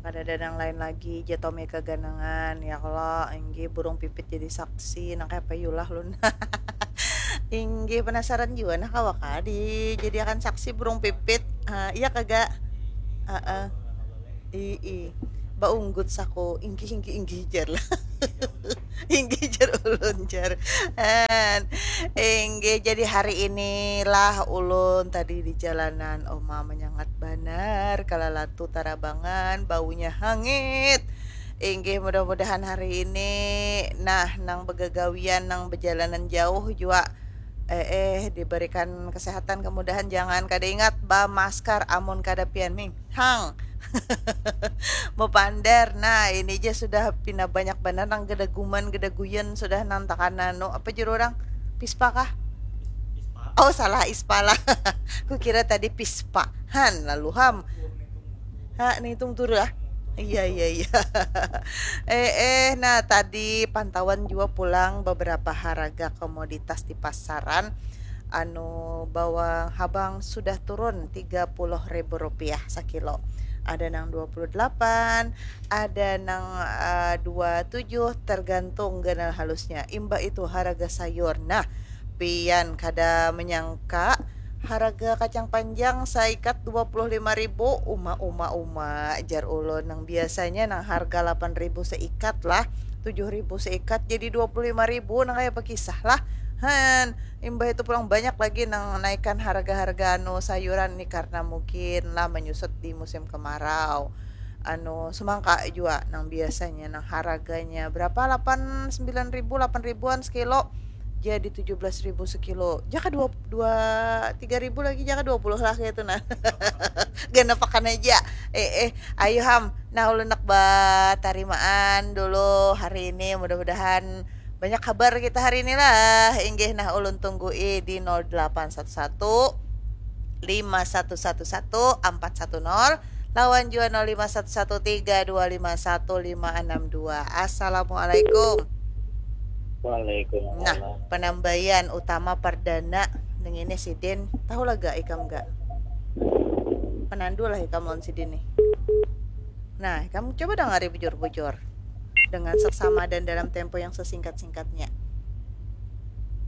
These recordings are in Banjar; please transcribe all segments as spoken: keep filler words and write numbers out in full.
Kadada nang lain lagi, ja Tommy kaganangan, ya kalo, inggih burung pipit jadi saksi, nang kaya apa yu lah ulun. Inggih penasaran jua nah kawa kah dijadiakan saksi burung pipit, ha, iya kah ga? Heeh. Ii, baunggut saku, inggih, inggih, inggih jar lah. Inggih jar ulun jar. Han. Inggih, jadi hari inilah ulun tadi di jalanan, uma menyengat banar, kalalatu tarabangan, baunya hangit. Inggih, mudah-mudahan hari ini, nah, nang begagawian, nang bejalanan jauh jua, eh, eh, diberikan kesehatan, kemudahan, jangan kada ingat bamaskar amun kada pian ming. Hang. Bepander. Nah, ini ja sudah pina banyak banar nang gedaguman, gedaguyan, sudah nang takana nu, apa jar urang? Pispa kah? Oh, salah, ispa lah. Kukira tadi pispa. Han, lalu ham. Ha, nang hitung turu ah. Iya, iya, iya. Eh, eh, nah, tadi pantauan jua pulang beberapa haraga komoditas di pasaran. Anu, bawang habang sudah turun tiga puluh ribu rupiah sakilo. Ada nang dua puluh delapan, ada nang, eh, dua tujuh, tergantung ganal halusnya. Imbah itu haraga sayur. Nah, pian kada menyangka haraga kacang panjang saikat dua puluh lima ribu, uma, uma, uma, jar ulun. Nang biasanya nang harga lapan ribu seikat lah, tujuh ribu seikat, jadi dua puluh lima ribu, nang kaya apa kisah lah. Han, imbah itu pulang banyak lagi nang naikan harga-harga anu sayuran ni karena mungkin lah menyusut di musim kemarau. Anu, semangka jua nang biasanya nang haraganya berapa, lapan, sembilan ribu, lapan ribuan sekilo, jadi tujuh belas ribu sekilo. Jaka dua, dua, tiga ribu lagi, jaka dua puluh lah kaya itu nah. Ganapakan aja. Eh, eh, ayo ham. Nah, ulun nak batarimaan dulu hari ini. Mudah-mudahan banyak kabar kita hari ini lah. Inggih, nah, ulun tunggui di nol delapan satu satu, lima satu satu satu, empat satu nol, lawan jua nol lima satu satu tiga dua lima satu lima enam dua. Assalamualaikum. Waalaikumsalam. Nah, penambayan utama perdana nang ini sidin. Tahu lah ga ikam ga? Penandu lah ikam lawan sidin nih. Nah, ikam coba dangari bujur-bujur. Dengan seksama dan dalam tempo yang sesingkat-singkatnya.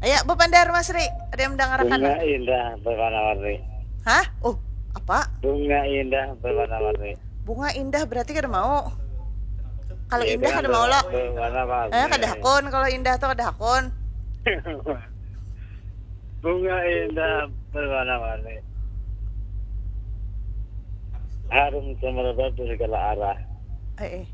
Ayo, Bapandar Masri, ada yang mendangarakan? Bunga indah berwarna-warni. Hah? Oh, apa? Bunga indah berwarna-warni. Bunga indah berarti kada mau. Kalau Ya, indah dengan kada mau lo. Berwarna-warni. Eh, kada hakun kalau indah tuh kada hakun. Bunga indah berwarna-warni. Harum semerbak di segala arah. Eh, eh.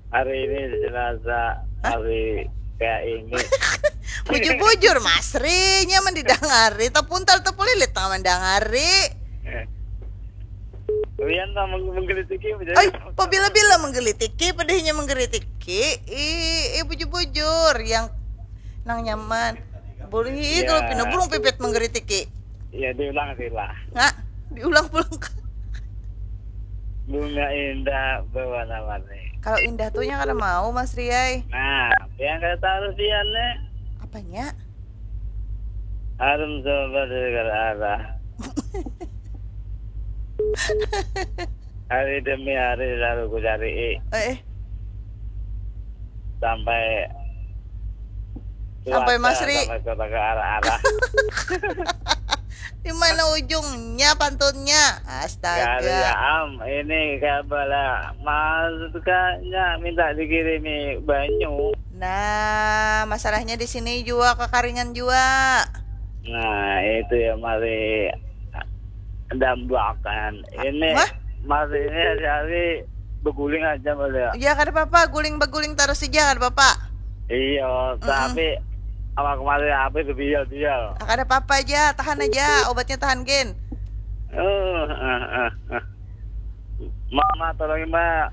Hari ini jenazah hari kayak ini. Bujur-bujur Masri, nyaman didangari, tepuntal tepulilit nang mandangari. Rian tak meng- menggelitiki menjadi Ay, pabila-bila menggelitiki, padahnya menggelitiki. Ih, ih, bujur-bujur yang nang nyaman. Boleh Ya. Kalau pina burung pipit menggelitiki. Ya diulang sih lah. Nggak, diulang pulang. Bunga indah berwarna-warni. Kalau indah tuh nya kada mau Mas Riai. Nah, yang kata harus Rian nih. Apanya? Harum semerbak di segala arah. Hari demi hari selalu ku cari Eh, eh. sampai Sampai Suwata, Masri. Sampai kota ke arah-arah. Di mana ujungnya pantunnya? Gak ada ya Astaga. Am, ini kayak bala maksudnya minta dikirimi banyu. Nah, masalahnya di sini juga kekaringan juga. Nah, itu ya mari dambakan. Ini Hah? Mas ini hari-hari berguling aja Mas ya. Ya kada apa-apa, guling beguling terus saja kada apa-apa. Iya, tapi awak kemarin apa itu bial-bial. Ah, kada apa-apa aja, tahan aja, obatnya tahan gen. Eh, eh, eh, eh. Mama tolongin Mak.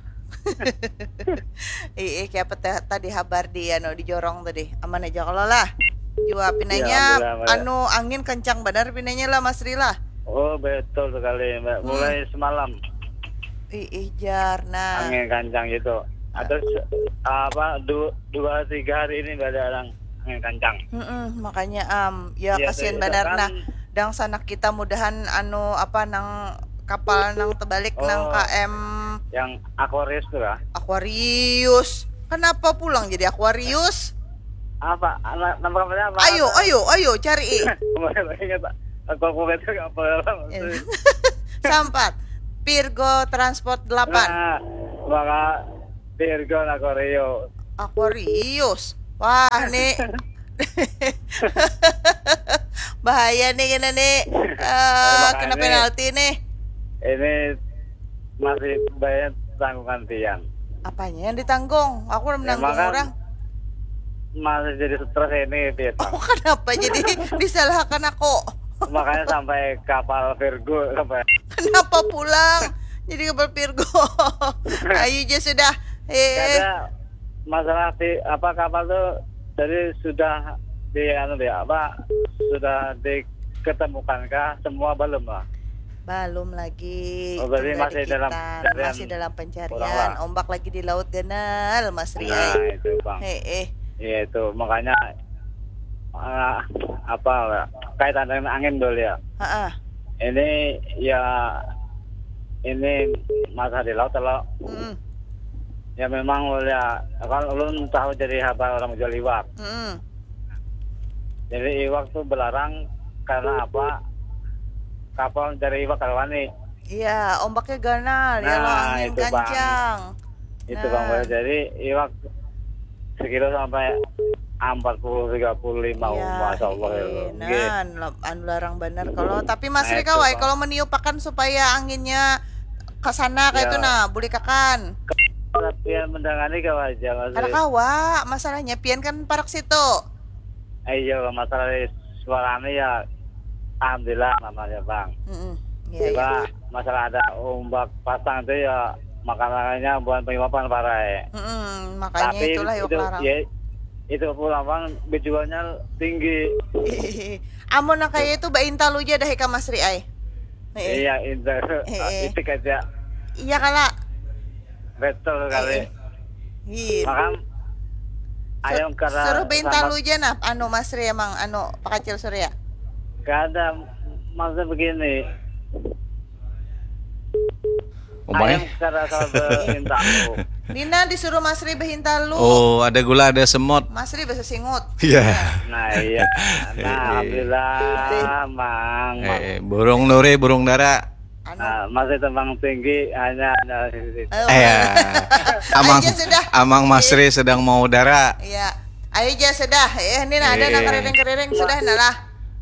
Ih, ih, kayak apa teh- tadi habar di anu di jorong tadi. Aman aja kalau lah. Jua pinanya Alhamdulillah, Mbak. Anu angin kencang benar pinanya lah Mas Rila. Oh, betul sekali Mbak. Hmm. Mulai semalam Ih, ih jar nah. angin kencang gitu. Terus apa du- dua tiga hari ini nggak ada orang angin kencang. Mm-mm, makanya am ya Iya, kasihan iya, benar kan. Nah, dangsanak kita mudahan anu apa nang Kapal nang tebalik nang Oh. K M Yang Aquarius tuh lah. Aquarius. Kenapa pulang jadi Aquarius? Apa? Nama, nama kapalnya apa? Ayo, ayo, ayo cari. Kemarin ingat, aku aku kata kapal apa? Sampat. Virgo Transport delapan. Nah, maka Virgo Aquarius. Aquarius. Wah, nih. Bahaya nih kena nih. Eh, kena Makanya. Penalti nih. Ini masih banyak tanggungan tiang. Apanya yang ditanggung? Aku udah menanggung Emang kan orang. Masih jadi stres ini, Pit. Oh, kenapa jadi disalahkan aku? Makanya sampai kapal Virgo sampai Kenapa pulang? Jadi kapal Virgo. Ayo aja sudah. Eh, ada masalah di apa kapal tuh, jadi sudah di anu di apa, sudah diketemukan kah semua, belum lah? Belum lagi. Oh, berarti Tunggal masih dalam dikitan. pencarian Masih dalam pencarian. orang lah. Ombak lagi di laut ganal, Mas Ri. Nah, itu, Bang. Hei, eh. Iya, itu makanya eh, apa, kaitan dengan angin dulu ya. Heeh. Ini ya, ini masalah di laut kalau Mm-mm. ya memang ya, kan ulun tahu jadi habar orang jual iwak. Mm-mm. Jadi iwak tuh belarang karena apa? Kapal mencari iwak kalau wani. Iya, ombaknya ganal ya, lo Nah, angin itu, Bang. Kencang. Itu, Bang Nah. Boy. Jadi iwak sekilo sampai empat puluh, tiga puluh lima. Iya, Masya Allah ya, iya, Bang. Nggih. nah, lap- anu larang benar kalau, tapi Mas Nah, Ri itu, kawai Bang. Kalau meniupakan supaya anginnya ke sana kayak Ya. Itu nah, boleh kakan. Latihan mendangani kau aja, Mas. Karena kawa, masalahnya pian kan parak situ. Eh, iya, masalah suaranya ya, alhamdulillah namanya, Bang. Mm-mm. Iya, iya. Coba masalah ada ombak pasang itu ya, makanannya bukan pengimapan parai. Mm-mm, makanya Tapi itulah yuk itu larang. Ya, itu pulang, Bang, bejualnya tinggi. Amun nah kayak itu baintalu aja dah ka Mas Ri ai. Heeh. Iya, itu Eh, eh. Itik aja. Iya kala. Betul kali. Eh, eh. Iya. Makam Sur- ayam kara Suruh baintalu sambat- aja nah, anu Mas Ri emang anu Pak Kacil Surya. Kada, maksudnya begini. Umai. Ayam kara sambat baintalu. Nina disuruh Mas Ri bahintalu. Oh, ada gula, ada semut. Mas Ri bahasa singut. Iya. Nah, iya. Nah, alhamdulillah, Mang. Mang. Eh, burung nuri, burung dara. Anu. Nah, masih tembang tinggi, hanya ada di sini. Ayo. Eh, amang, Aja sudah. Amang Masri sedang mau dara. Iya. Ayo aja sudah. Eh, ini nah ada Eh. nang keriring-keriring sudah nah lah.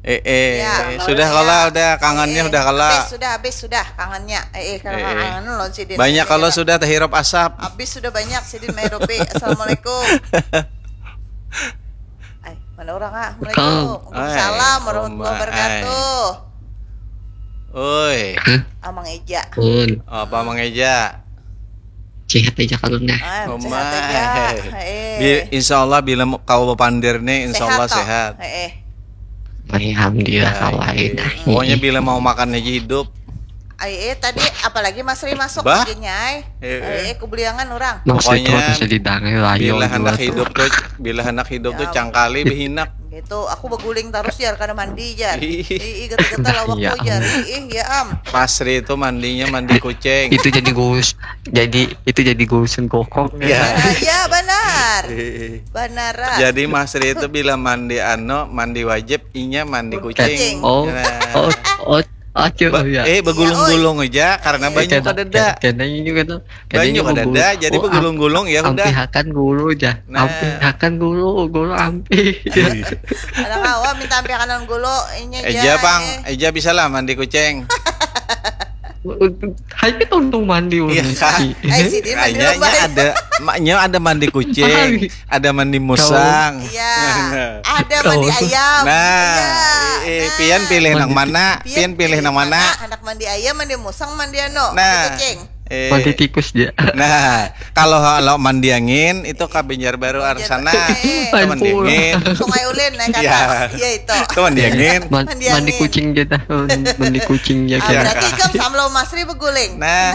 Eh, eh, Ya. sudah Ya. kala, udah kangennya Eh, udah kala. Habis sudah, habis sudah kangennya. Eh, eh, kalau Eh, eh. kangen lo sidin. Banyak Ini kalau kita- sudah terhirup asap. Habis sudah banyak sidin mairupi. Assalamualaikum. Ay, mana orang ah? Welcome. Assalamualaikum. Waalaikumsalam Ay, warahmatullahi Uma, wabarakatuh. Oi, Amang Eja. Pun. Apa Mang Eja? Sehat aja kalau nah. Ah, Uma. Sehat aja. Eh. Bi- insya Allah bila mau kau bapandir nih, insya Allah Toh? Sehat. Eh, eh. Alhamdulillah Ya, kalau iya. enak. Pokoknya bila mau makan aja hidup. Ay, eh, tadi apalagi Mas Ri masuk Bah? Gini, ay. Eh, eh. Eh, eh, kubuliangan orang. Maksudnya Pokoknya harus jadi dangai lah, yo, Bila hendak dua hidup tuh. Tuh, bila hendak hidup tuh Ya. Cangkali behinak. Gitu, aku beguling terus jar kada mandi jar. Ih. Ih, ih, gata-gata Dah, lawak iya. Jar. Ih, ih, ya am. Masri itu mandinya mandi kucing. Itu jadi gurus, jadi itu jadi gurusan kokok. Ya. Nah, ya benar. Eh. Benar. Ah. Jadi Masri itu bila mandi ano, mandi wajib, inya mandi Kucing. kucing. Oh, Nah. oh, oh, acil Ba- ya. Eh, begulung-gulung aja karena banyu Kena- kadada. Kena ini kena. Banyu kadada, jadi begulung-gulung ya udah. Ampihakan guru dah. Nah. Ampihakan guru, guru ampi. Ada kawa minta ampiakanan gulu inya Eja ja, pang, eh. Eja bisa lah mandi kucing. Hai kita untung mandi Iya, untung. Kak. Eh, sidin mandi Hanya loba. Ada, maknya ada mandi kucing, ada mandi musang. Iya. Nah. Ada mandi Oh. Ayam. Nah, Iya. eh, eh, Nah. pian pilih nang Mandi- mana? Pian Pian pilih nang mana? Anak mandi ayam, mandi musang, mandi ano, Nah. Mandi kucing. Eh, Mandi tikus dia. Nah, kalau kalau mandi angin itu ka Banjarbaru Arsana. Eh. Itu mandi angin. Sungai Ulin naik ke Iya. atas. Iya itu. Itu mandi angin. Man- Mandi mandi angin. Kucing kita. Mandi kucing ya Ah, kita. berarti ikam sama Masri beguling. Nah,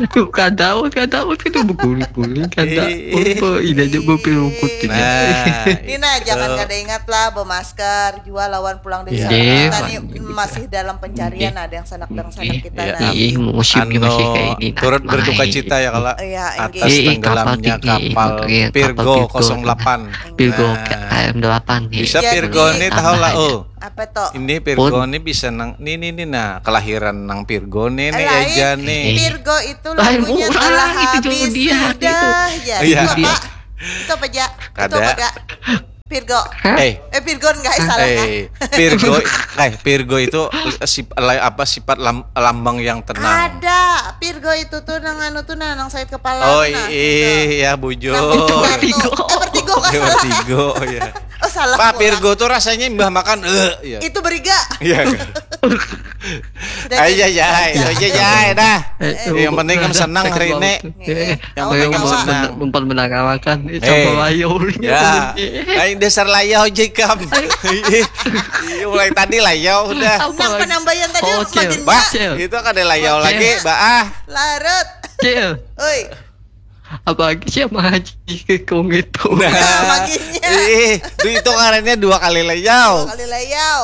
Tuh kada, kada, kada beguling-guling kada. Ih. Apa ini aja berpilukut ini. Nah, Nina jangan itu. Kada ingat lah bermasker, jua lawan pulang dari Iya. sana. Iya. Tadi masih dalam pencarian, ada yang sanak dangsanak kita. Nah, ih, musimnya masih kayak ini, nah, turut berduka cita ya kalau iya, atas tenggelamnya kapal Virgo kosong delapan. Virgo K M delapan nih. Bisa Virgo nih, tahu lah, oh. Apa toh? Ini Virgo nih bisa nang ini nih, nah, kelahiran nang Virgo nih, nih aja nih. Virgo itu lagunya telah habis sudah. Ya, itu apa? Itu apa, Ja? Itu apa, Ga? Virgo. Eh, eh Virgo enggak, salah. Eh, Virgo, eh Virgo itu sip, apa, sifat lam, lambang yang tenang. Ada. Virgo itu tuh nang anu tuh, nah, nang sakit kepala. Oh iya, bujur. Nah, Virgo. Eh, Vertigo enggak salah. Vertigo, ya. Oh, salah. Pak, Virgo tuh rasanya imbah makan, eh, ya. Itu beriga. Iya. Aja jai, aja jai dah. Yang penting kan senang hari ini. Yang penting kan senang. Umpan menangalakan. Sama layau. Ya. Lain dasar layau aja kam. Iya, mulai tadi layau udah. Nang penambayan tadi makin. Bah, itu kada layau lagi, bah. Larut. Cil. Oi. Apalagi sih sama Haji Kung itu. Nah, maginya. Ih, itu, itu karena dua kali layau. Dua kali layau.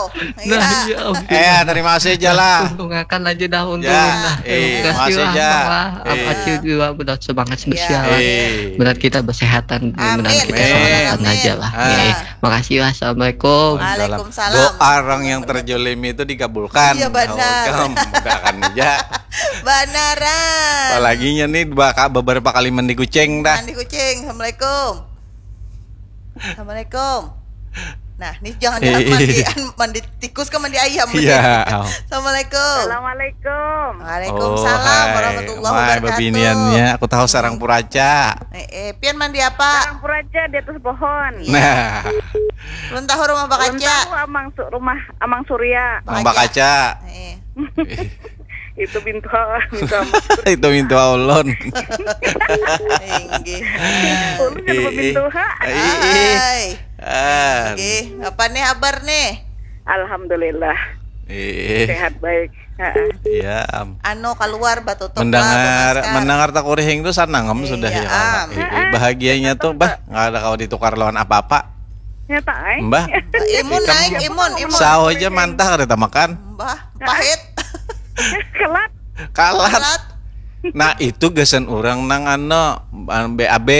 Nah, iya. Eh, terima kasih aja lah. Untungakan aja dah, untung ya, lah. Eh, terima kasih aja. Apa Acil juga benar semangat spesial. Eh. Benar kita bersehatan, benar kita semangat aja lah. Ah. Eh, makasih lah. Assalamualaikum. Waalaikumsalam. Doa orang yang terjolimi itu dikabulkan. Iya, benar. Mudah akan aja. Banaran. Apalaginya nih beberapa kali mandi kucing dah. Mandi kucing. Assalamualaikum. Assalamualaikum. Nah, nih jangan jangan mandi, mandi tikus ke mandi ayam. Iya. Assalamualaikum. Assalamualaikum. Waalaikumsalam warahmatullahi wabarakatuh. Babiniannya, aku tahu sarang puraca. Eh, eh, pian mandi apa? Sarang puraca di atas pohon. Nah. Belum tahu rumah Bakaca. Belum tahu amang rumah Amang Surya. Mang Bakaca. Eh. Itu mintuha, mintuha. Itu mintuha ulun. Inggih. Ulun kan mintuha. Hai. Ah. Inggih, apa nih kabar nih? Alhamdulillah. Sehat baik. Iya. Anu keluar batutup. Mendengar mendengar takurihing tuh sanangem sudah ya. Bahagianya tuh bah nggak ada kau ditukar lawan apa-apa. Nyata ai. Mbah. Imun naik, imun, imun. Sawo aja mantah kada tamakan. Mbah, pahit. Kelat. Kalat. Nah, itu gasan orang nang ano B A B.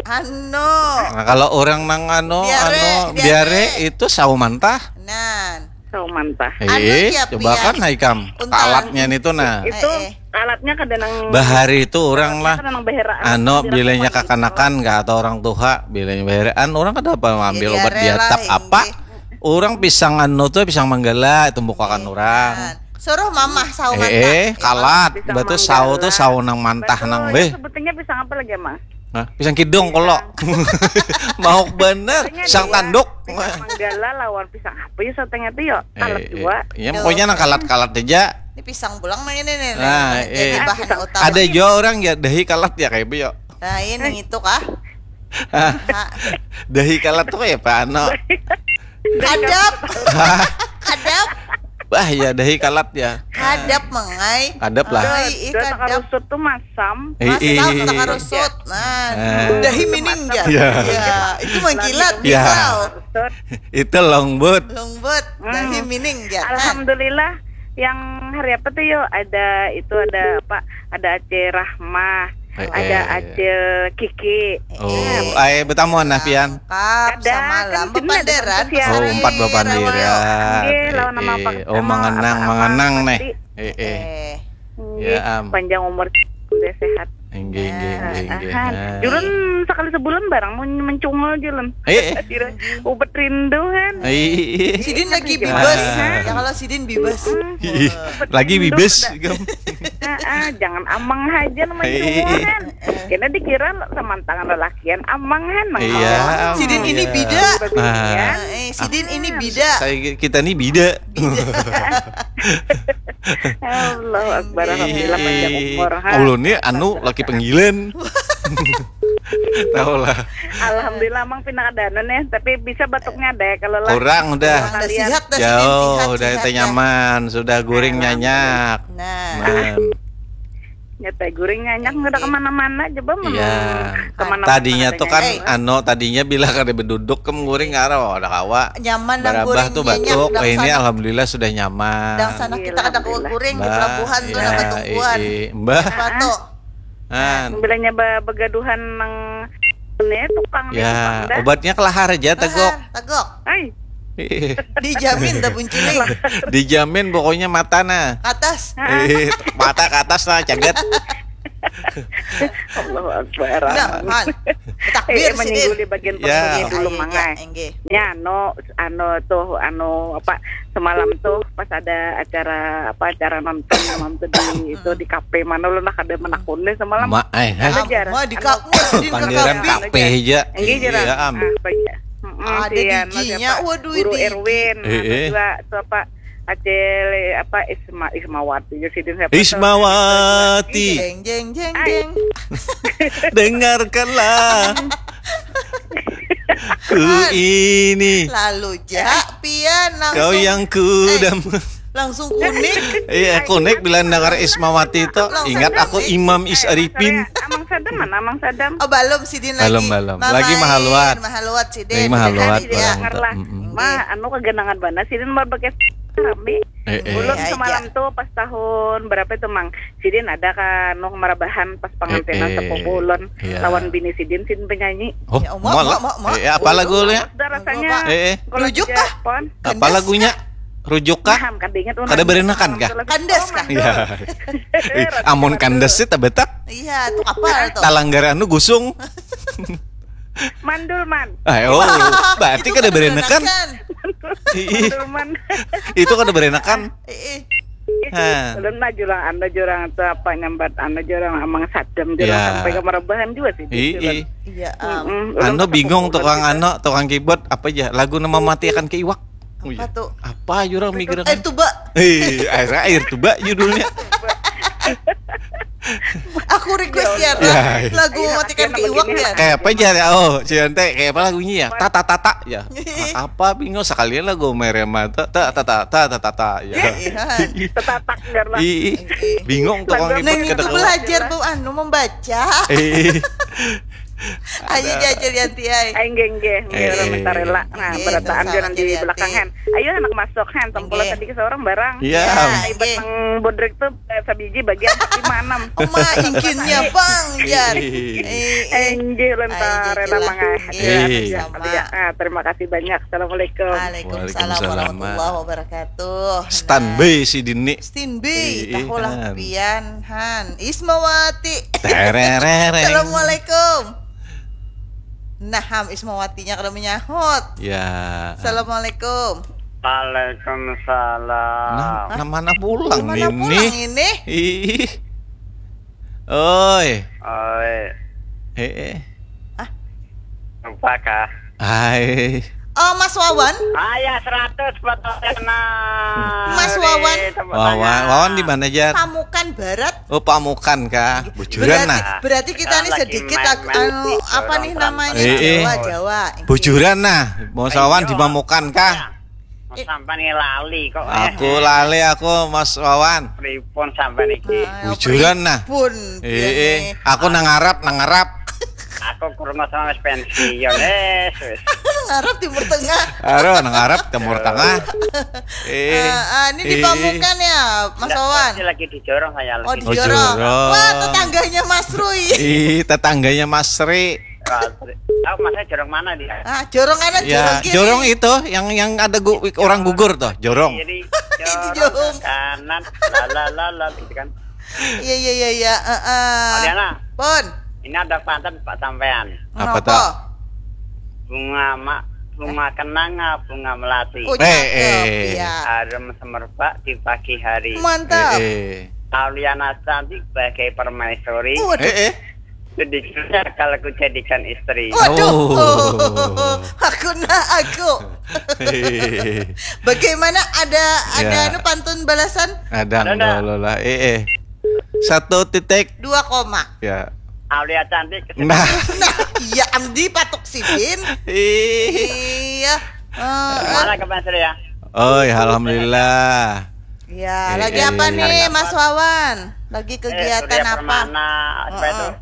Ano. Nah, kalau orang nang ano, ano diare, itu sawo mantah. Nan. Sawo mantah. Eh, coba kan haikam. Kalatnya itu nah. Itu Alatnya kada nang bahari itu orang lah. Anu bilanya kakanakan nggak atau orang tuha bilanya baheraan orang kada apa ambil obat diatap apa. Orang pisang anu tuh pisang manggala itu bukakan orang. Suruh mamah sawo mantah. Eh, kalat. Batu sawo tuh sawo nang mantah nang beh. Sebetulnya pisang apa lagi mah? Nah, pisang kidung kalau mau bener pisang tanduk. Pisang manggala lawan pisang apa ya satengah itu ya? Kalat dua. Ya pokoknya nang kalat-kalat aja. Ini pisang pulang nang ini nih. Nah, eh, bahan utama. Ada juga orang ya dahi kalat ya kayak bu ya. Nah, ini itu kah? Dahi kalat tuh kayak apa ano? Kadap. Kadap. Wah ya dahi kalat ya. Kadap mengai. Kadap lah. Ai, kadap. Rusut tuh masam. Masam tak rusut. Nah, dahi mining ya. Ya, itu mengkilat ya. Itu longbut. Longbut. Dahi mining ya. Alhamdulillah. Yang hari apa tuh yo? Ada itu ada apa? Ada Aceh Rahmah, eh, ada eh. Acil Kiki. Oh, eh. Ay betamuan nah pian. Kap, ada, sama kan lah bepanderan. Oh, empat bepanderan. Nggih, lawan nama apa? Oh, mangenang, mangenang nih. Eh, eh. Ya, am. Panjang umur udah sehat. Inggih, inggih, inggih, inggih. Nah. Julun sekali sebulan barang men mencungul julun. Eh, eh. Ubat rindu kan. Eh, eh. Sidin lagi bibes. Ya kalau sidin bibes. Lagi bibes. Ah, jangan amang aja mencungul kan. Kena dikira semantangan lelakian amang kan. Iya. Sidin ini bida. Nah. Eh, sidin ini bida. Saya kita ini bida. Allahu Akbar, alhamdulillah panjang umur. Ulun ni anu laki panggilan. Tahu lah. Alhamdulillah mang pina kada anu nih, tapi bisa batuknya ada ya kalau lah. Kurang udah. Sihat dah. Jauh udah teh nyaman, sudah guring nyanyak. Nah. Nyata guring nyanyak nggak ada kemana-mana, coba mana Iya. kemana Tadinya tuh kan Eh. Ano, tadinya bila kada beduduk ke guring karo ada kawa. Nyaman nang Barabah guring tuh nyanyak batuk. nang Wah, ini sana. Alhamdulillah sudah nyaman. Dang sana kita kada kawa guring di Alhamdulillah. pelabuhan tuh Iya, nang batungguan. eh, Mbah. Apa tuh? An. Bilanya ba- begaduhan nang ini tukang di Ya, tukang dah. Obatnya kelahar aja tegok. Tegok. Ai, Dijamin dah bunciling. Dijamin pokoknya mata nah. Atas. Eh, mata ke atas lah, caget. Allahu Akbar. Nah, Han. Eh, Takbir eh, menyinggul sidin. Di bagian Ya. perut dulu Ayo, mangai. Engge. Ya, anu, anu tuh, anu apa, semalam tuh pas ada acara apa, acara nonton malam tuh di itu di kafe mana lu nak ada menakun deh semalam. Ma, eh, hah? Ada jar. Ma di kafe sidin ke Panderan kafe. kafe aja. Enggak jarang. Iya, am. Ah, apa ya? Mm-mm, Ada si anu, giginya, siapa? Waduh, Guru ini. Erwin, Eh, eh. Dua tuh apa? Acil apa Isma Ismawati ya sidin siapa tuh? Ismawati. Jeng jeng jeng Ai. jeng. Dengarkanlah. Ku ini Lalu ja pian langsung kau yang kudam. Langsung kuning. Iya, kunik bila dengar Ismawati itu ingat aku Imam Is Arifin. Amang Sadam mana Amang Sadam? Oh, belum sidin lagi. Belum, belum. Lagi mahaluat. Mahaluat sidin. Lagi mahaluat, Sidin ya. barang. Dengarlah. Mm-mm. Ma, anu kaganangan bana sidin mau pakai rame. Eh, eh. Ulun Iya, semalam iya. Tuh pas tahun berapa itu Mang? Sidin ada kan nu marabahan pas pengantinan Eh, eh. sepupu ulun Iya. Lawan bini sidin sidin penyanyi. Oh, Ya, mau, malah. mau, mau, mau. Eh, apa lagu ya? Sudah rasanya. Eh, eh. Kalau Rujuk tiga kah? pon. Apa lagunya? Rujuk kah? Paham kan diingat ulun. Kada berenakan kah? Kandas kah? Iya. Ih, amun kandas sih tabetak. Iya, tuh apa tuh? Talanggar anu gusung. Mandul man. Ayo, berarti kada berenakan. Berenakan. Ih, Mandul man. itu kada berenakan. Eh, eh. Hah. Ulun mah jurang anu jurang itu apa nyambat anu jurang Amang Sadam jurang Ya. Sampai ke marabahan juga sih. Ih, Jurang. ih. Iya, am. Mm-mm, ulun Anu pas bingung sepupu tukang ulun anu, tukang keyboard apa aja? Lagu nama mati akan keiwak. Apa tuh? Apa jurang mikir? Air tuba. Eh, air air tuba judulnya. Aku request ya, Ya, iya. lagu matikan keiwak ya. Kayak apa aja ya? Oh, si Ante kayak apa lagunya ya? Tata tata ya. Apa bingung sekalian lagu Merema ta ta ta ta ta ta ta ya. Iya. Tetatak biar lah. Ih, ih. Bingung tukang Lagu Neng kebet itu kedok. Belajar bau anu membaca. Eh, Ayo jajal Yanti ai. Aing geng geng Eh, minta rela. Nah, Iya, berataan sama-sama jangan di jadi belakang hati. Hen. Ayo anak masuk Hen. Tongkola Iya. Tadi ke seorang barang. Iya. Iya. Ibat nang bodrek tuh eh, sabiji bagian empat lima enam. Oma ingkinnya bang jar. Ih. Eh, eh. Enggih ulun Ai, ta rela jajal lah. mangai. Iya, Eh. sama. Ah, terima kasih banyak. Assalamualaikum. Waalaikumsalam Waalaikumsalam. Warahmatullahi Wabarakatuh. Standby si Dini. Standby, Ih, tahulah Han. pian Han. Ismawati. Terereng. Assalamualaikum. Nah, Ham Ismawatinya kada menyahut. Ya. Assalamualaikum. Waalaikumsalam. Nah, nah mana pulang Mana ini? Pulang ini? Ih. Oi. Oi, Eh, eh. lupa kah? Hai. Oh, Mas Wawan, Ayah seratus buat Mas Wawan. Wawan, Wawan di mana aja? Pamukan Barat. Oh, Pamukan kah? Bujuran Berarti, nah. Berarti kita Ah, nih lagi sedikit main-main ag- anu di apa nih orang namanya Eh, eh. Jawa, Jawa. Bujuran nah. Mau sawan di Ayo. Pamukan kah? Sampai nih lali kok. Aku lali aku Mas Wawan. Pripun sampai niki. Nah, Bujuran nah. Pun. Eh, eh. Aku nangarap, nangarap. Aku kurma sama wis pensiun eh wis. Ngarap Timur Tengah. Aduh, nangarap Timur Tengah. Eh. Eh, eh, ini di Eh. Pamukan ya, Mas Ndak, Wawan. Pasti lagi di jorong saya Oh, lagi. di Oh, jorong. jorong. Wah, tetangganya Mas Rui. Ih, tetangganya Mas Ri. Tahu masnya jorong mana dia? Ah, jorong kanan, Ya, jorong kiri. jorong itu yang yang ada gu- orang gugur tuh, jorong. Kiri, Itu jorong, jorong. Kanan, lala lala gitu kan. Iya, iya, iya, iya. Heeh. Aliana, Pun. Ini ada pantun Pak sampean. Apa Kenapa? tuh? Bunga ma, bunga kenanga, bunga melati. Oh, Eh, cakep, eh. Iya. Harum semerbak di pagi hari. Mantap. Eh, eh. Auliana cantik bagai permaisuri. Waduh. Eh, eh. Itu dijual kalau ku jadikan istri. Waduh. Oh. Aku nak aku. Bagaimana, ada ada Ya. anu pantun balasan? Ada Ada, ada. Lola. Eh, eh. Satu titik. Dua koma. Ya. Aulia cantik. Nah, Nah, iya Amdi patuk sidin. ih. Iya. Eh, Mana ke Mas Ria? Oh, ya, alhamdulillah. Ya, Eh, lagi eh. Apa nih, Mas Wawan? Lagi Eh, kegiatan Surya apa? Permana, apa itu? Heeh.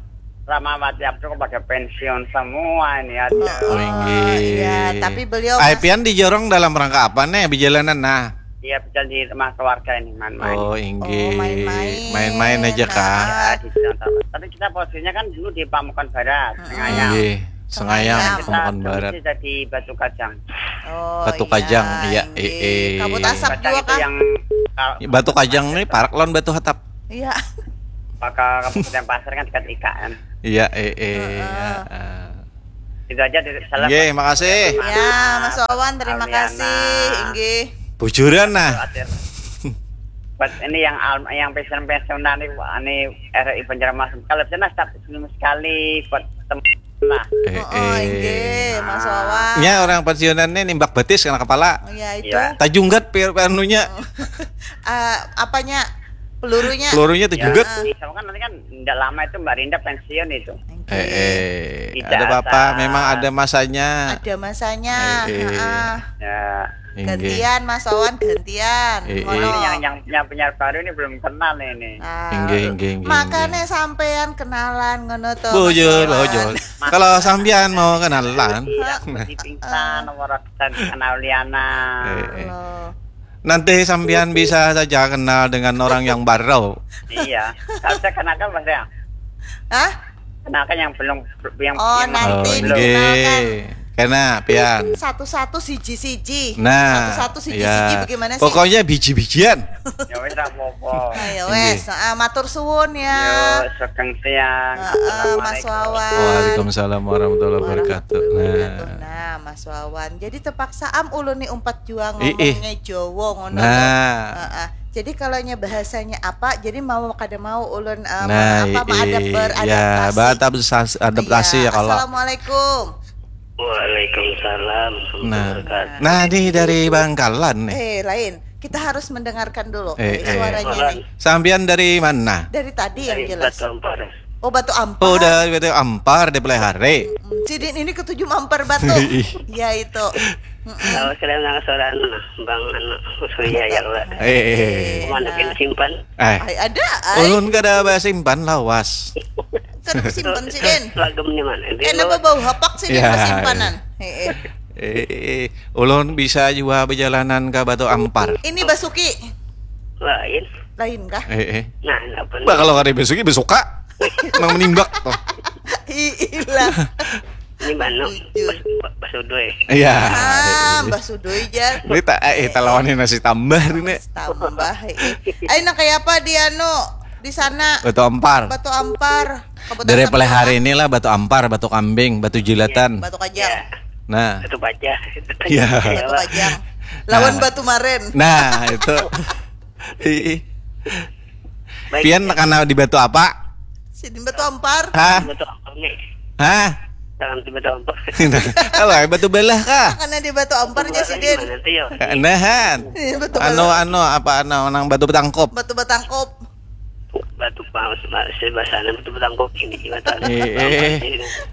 Ramawati Abdul kok pada pensiun semua ini, aduh. Oh, inggih. Iya, tapi beliau Ai, mas- pian di jorong dalam rangka apa nih, bijalanan nah? Iya, bisa di rumah keluarga ini, main-main. Oh, inggih. Oh, main-main. Main-main aja kah? Nah. Ya, di Jakarta. Tapi kita posisinya kan dulu di Pamukan Barat, Sengayam. Inggih. Sengayam, Sengayam. Kita Pamukan Barat. posisi jadi Batu Kajang. Oh, Batu iya, Kajang, iya, inggih. eh, eh. Kabut asap Kajang juga itu kah? Yang kal- Batu Kajang nih parak lawan Batu Hatap. Iya. Maka Kabupaten Pasir kan dekat I K N. Iya, eh, eh. Heeh. Ya, eh. Itu aja dari salam. Nggih, makasih. Ya, Mas Wawan, terima Almiana. Kasih. Inggih. Bujuran nah. Khawatir. Buat ini yang al- yang pensiun-pensiunan nih, wah, ini R R I Banjarmasin. Kalau jelas tapi sebelum sekali buat teman lah. Eh, Oh, inggih, Mas Wawan. Nya orang pensiunan nih nimbak betis kena kepala. Iya, itu. Iya. Tajunggat pi- anunya. Eh, apanya? Pelurunya. Pelurunya tajunggat. Ya, sama kan nanti kan tidak lama itu Mbak Rinda pensiun itu. Inggih. Eh, eh. Tidak Ada apa-apa, asal. Memang ada masanya. Ada masanya. Eh, eh. Heeh. Ya. Inggih. Gantian, Mas Wawan, gantian. Eh, Ngono. eh. Ini yang yang punya baru ini belum kenal ini. Ah. Inggih, inggih, inggih, Makanya inggih. Sampean kenalan ngono to. Bujur, Mas Wawan. bujur. Kalau sampean mau kenalan, Iya, seperti pingsan nomor dan kenal Liana. Eh, eh. Loh. Nanti sampean bisa saja kenal dengan orang yang baru. Iya. Kalau saya kenalkan mas ya. Hah? Kenalkan yang belum yang Oh, yang nanti Oh, dikenalkan. Inggih. Kena pian. Satu-satu siji-siji. Nah, Satu-satu siji-siji ya. Bagaimana sih? Pokoknya biji-bijian. Ya wis ra apa-apa. Nah, ya wes. Ah, matur suwun ya. Yo, sugeng siang. Heeh, Mas Assalamualaikum. Wawan. Waalaikumsalam warahmatullahi wabarakatuh. Warahmatullahi Nah. wabarakatuh. Nah, Mas Wawan. Jadi terpaksa am ulun nih umpat juang Ih, ih. ngomongnya Jawa ngono. Nah. Heeh. Jadi kalau nya bahasanya apa, jadi mau kada mau ulun eh, Nah, apa ih, adap- ih. beradaptasi. Ya, beradaptasi, adaptasi ya kalau. Assalamualaikum. Waalaikumsalam. Nah. Wabarakatuh. Nah, nih dari Bangkalan nih. Eh, lain. Kita harus mendengarkan dulu Eh, eh, eh. suaranya Orang nih. Sampean dari mana? Dari tadi yang Dari jelas. Batu Ampar. Oh, Batu Ampar. Oh, udah Batu Ampar di Pelihari. Hmm, Sidin ini ketujuh mampar batu. Ya itu. Mm-mm. Kalau kalian nang suara anu, Bang anu, Surya ya Allah. Eh, eh, eh. Mana Nah. Kalian simpan? Eh, Ai ada ai. Ulun kada basimpan lawas. Kada simpan Sidin. Lagemnya mana? Dia Kena lewat. Bau hapak Sidin Ya. Kesimpanan. Heeh. Eh, eh, ulun bisa juga berjalanan ke Batu Ampar. Ini Basuki. Lain. Lain kah? Eh, eh. Nah, apa nih? Bah, kalau kada Basuki, Basuka. Nang menimbak tuh. Iilah. Ini Banu. Jujur. Pas, pas udah ya. Iya. Ah, Mbah Sudoi jar. Ini tak eh talawannya nasi tambah ini. Tambah. Eh. Ai nang kayak apa di anu di sana? Batu Ampar. Batu Ampar. Kabupaten Dari Sampang. Pelihari inilah Batu Ampar, Batu Kambing, Batu Jilatan. Batu Kajang. Nah, Itu baca. Iya. Batu Kajang. Lawan Nah. Batu Maren. Nah, itu. Ih, ih. Baik. Pian karena di Batu apa? Sidin Batu Ampar. Hah? Batu Ampar nih. Hah? Jangan di Batu Ampar. Alah, Batu Belah kah? Karena di Batu Ampar nya Sidin. Gimana tuh ya? Nahan. Iya, Batu Anu Belah. anu apa anu nang Batu Betangkop. Batu Betangkop. Batu paus, bahasa sana batu betangkop ini gimana? Eh, eh.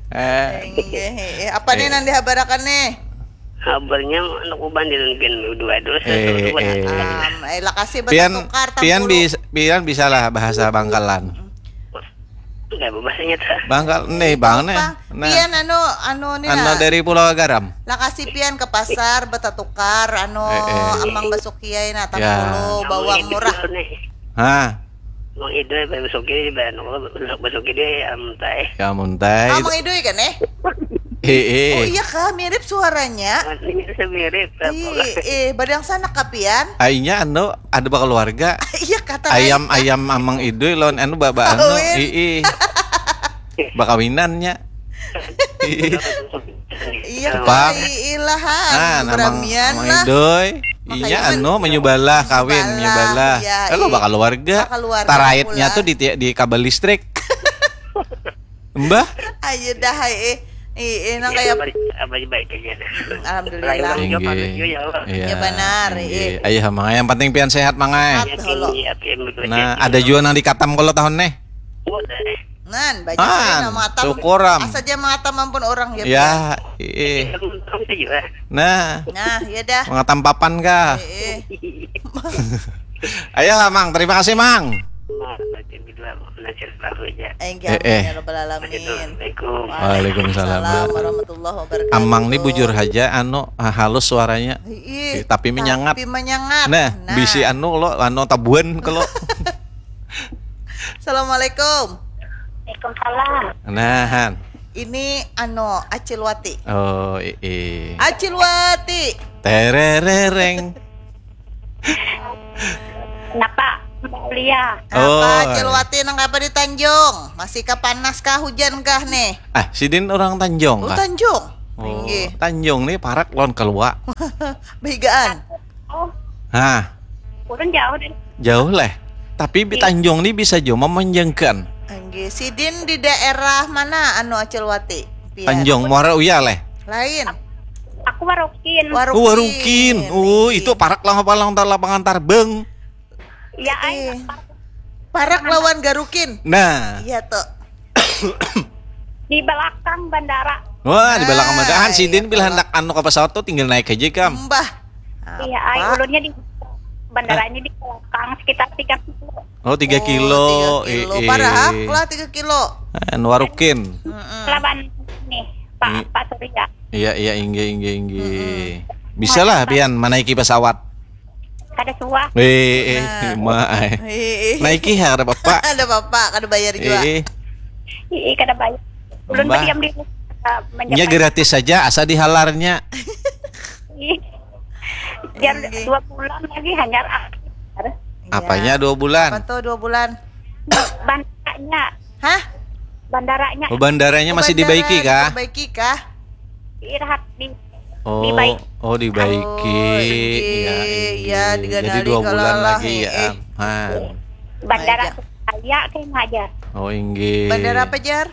Eh, Inggih, eh, apa nih nang dihabarakan nih? Kabarnya anak uban di Lenggen dua dulu Eh, satu. eh. Um, eh, lakasi Pian bertukar pian tampulu. bis, pian bisalah bahasa Bangkalan. Enggak bahasanya ta. Bangkal nih bang nih. Bang, Nah, pian anu anu nih anu lah. Dari Pulau Garam. Lakasi pian ke pasar betatukar anu Eh, eh. Amang Basukiai nah Ya. tampulu bawang murah. Nih. Hah? Bang Ido ya, Bang Suki, Bang Bang Suki dia am tai. Ya muntai. Amang Idoi kan eh? Eh, eh. Oh iya kah, mirip suaranya. Ini saya mirip. Iya, eh, badang sanak kah pian? Ainya anu ada keluarga. Iya kata Ayam lain, ayam Amang Idoi lawan anu baba anu. Kawin. Ii. Bakawinannya. Ii. Iya, Apa? Pak, iilah, Nah, nama beramian Amang lah. Idoi. Makanya Inya kan anu menyubalah kawin, Balah, menyubalah. iya, Kalau iya. Bakaluarga. Bakaluarga Taraitnya pula. Tuh di di kabel listrik. Mbah. Ayo dah, eh, eh, eh, nang kayak Apa apa baik aja dah. Alhamdulillah. Lain orang jawab Inggih. Harus juga ya Allah. Iya. Ya, benar, Inggih. Iya. Ayo mang, yang penting pian sehat mang ai. Sehat. Halo. Iya, iya, betul. Nah, ada juga nang dikatam kalau tahun nih. Oh, dah. Nan, banyak An, nama atam. Syukuram. Asa aja mengatam ampun orang ya. Ya, ih. Kamu tahu sih juga. Nah, Nah, ya dah. mengatam papan kah? Eh, eh. Ayolah, Mang. Terima kasih, Mang. Nah, berarti dua belajar baru aja. Aing Eh, eh. Ya rabbal alamin. Assalamualaikum. Waalaikumsalam. Warahmatullahi wabarakatuh. Amang ni bujur haja, anu, halus suaranya. Ih, Tapi menyangat. Tapi menyangat. Nah, bisi anu lo, anu tabuan kalau. Assalamualaikum. Waalaikumsalam. Nah, Han. Ini anu Acil Wati. Oh, ii. Acil Wati. Tererereng. Kenapa? Mbak Ulia. Apa Oh. Acil Wati nang apa di Tanjung? Masih kah panas kah hujan kah nih? Ah, sidin orang Tanjung Oh, kah? Tanjung. Oh, Inggih. Tanjung nih parak lawan Kalua. Behigaan. Oh, Hah, ulun jauh deh. Jauh leh. Tapi di Tanjung nih bisa jo memanjangkan. Inggih. Sidin di daerah mana anu Acil Wati? Pian. Tanjung Muara Uya leh. Lain. Aku Warukin. Warukin. Oh, Warukin. Oh, Inggih. Itu parak lah palang tar lapangan tarbang. Ya, Eh, ay, Parak lawan Garukin. Nah, Iya tuh. Di belakang bandara. Wah, di belakang Ah, madahan iya, sidin bila kalau- hendak anu ke pesawat tuh tinggal naik aja kam. Mbah. Iya, ay, Apa? ulunnya di bandaranya di belakang sekitar tiga kilo. Oh, tiga Oh, kilo. tiga kilo. Ii. Parah lah tiga kilo. Anu, Warukin. Lawan nih, Pak Hmm. Pak Surya. Iya, iya, inggih, inggih, inggih. Bisa lah pian menaiki pesawat. Kada suah. Eh, eh, Nah. ma, eh. Ih, ih. Naiki ha, kada apa-apa. Ada bapak, kada bayar juga. Eh, Ih, kada bayar. Ulun Mbah. Berdiam di rumah. Uh, Nya gratis saja, asa dihalarnya. Ih. Jar Inggih. Dua bulan lagi hanyar. Apanya dua bulan? Apa tuh dua bulan? Bandaranya. Hah? Bandaranya. Oh, bandaranya masih dibaiki kah? Diperbaiki kah? Irahat di Oh, dibaik. Oh, dibaiki. Oh, inggih. Iya, Iya, inggih. Jadi diganali dua bulan kalau lah, lagi eh, ya. eh. Han. Bandara Aja. Surabaya kayaknya aja. Oh, inggih. Bandara apa, Jar?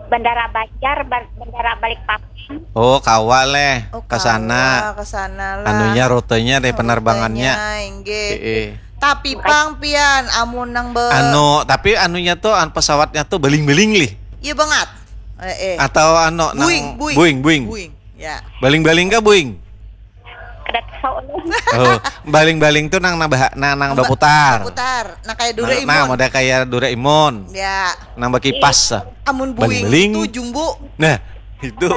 Bandara Banjar, Bar- Bandara Balikpapan. Oh, kawa leh Oh, ke sana. Ke sana lah. Anunya rutenya deh, penerbangannya. Rutenya, inggih. Eh, eh. Tapi pang pian amun nang be Anu, tapi anunya tuh an- pesawatnya tuh beling-beling lih. Iya banget. Eh, eh. Atau anu nang Boeing, Boeing. Boeing, Boeing. Boeing. Ya. Baling-baling kah Boeing? Kada tahu lah. Oh, baling-baling tuh nang nang, bah- nang, nang Ba- baputar. Putar. Nah, kayak Nang, Doraemon. nang model kayak Doraemon. Ya. Nang bakipas. Ah. Amun Boeing Baling-baling. Itu jumbo. Nah, itu.